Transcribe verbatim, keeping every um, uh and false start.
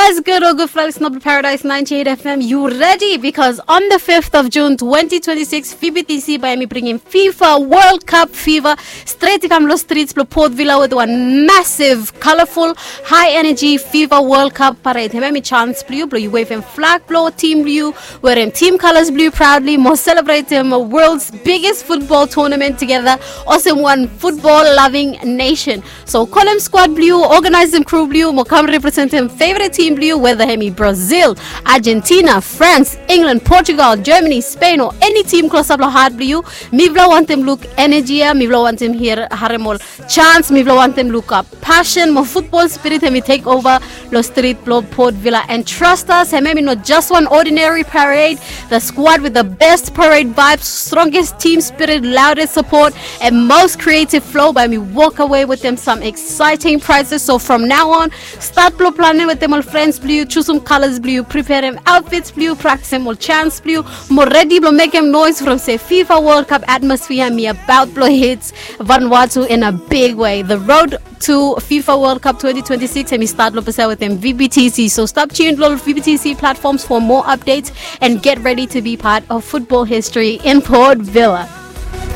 Yes, good or good flight is not paradise ninety-eight F M. You ready? Because on the fifth of June twenty twenty-six, F I B T C bae hemi bringim FIFA World Cup fever straight i kam long streets blong Port Vila with one massive, colorful, high energy FIFA World Cup parade. Hemia hemi chance blong yu blong yu wavem flag blong team blong yu, wearem team colors blong yu proudly, mo celebratem world's biggest football tournament together olsem one football loving nation. So kolem squad blong yu, organizem crew blong yu, mo kam representem favorite team blong yu, whether hemi Brazil, Argentina, France, England, Portugal, Germany, Spain, o eni team klosap long hat blong yu. Mifala wantem luk energy ia, mifala wantem harem ol chance, mifala wantem luk ap passion mo football spirit hemi take over long street blong Port Vila. And trust us, hemia hemi no just one ordinary parade. The squad with the best parade vibes, strongest team spirit, loudest support, and most creative flow bae hemi walk away with them some exciting prizes. So from now on, start blong planem wetem ol friends blong yu, chusum colors blong yu, preparem outfits blong yu, practicem ol chants blong yu, mo ready blong mekem noise from se FIFA World Cup atmosphere hemi about blong hit Vanuatu in a big way. The road to FIFA World Cup twenty twenty-six hemi start long pesa wetem V B T C. So stop tuned long V B T C platforms for more updates and get ready to be part of football history in Port Vila.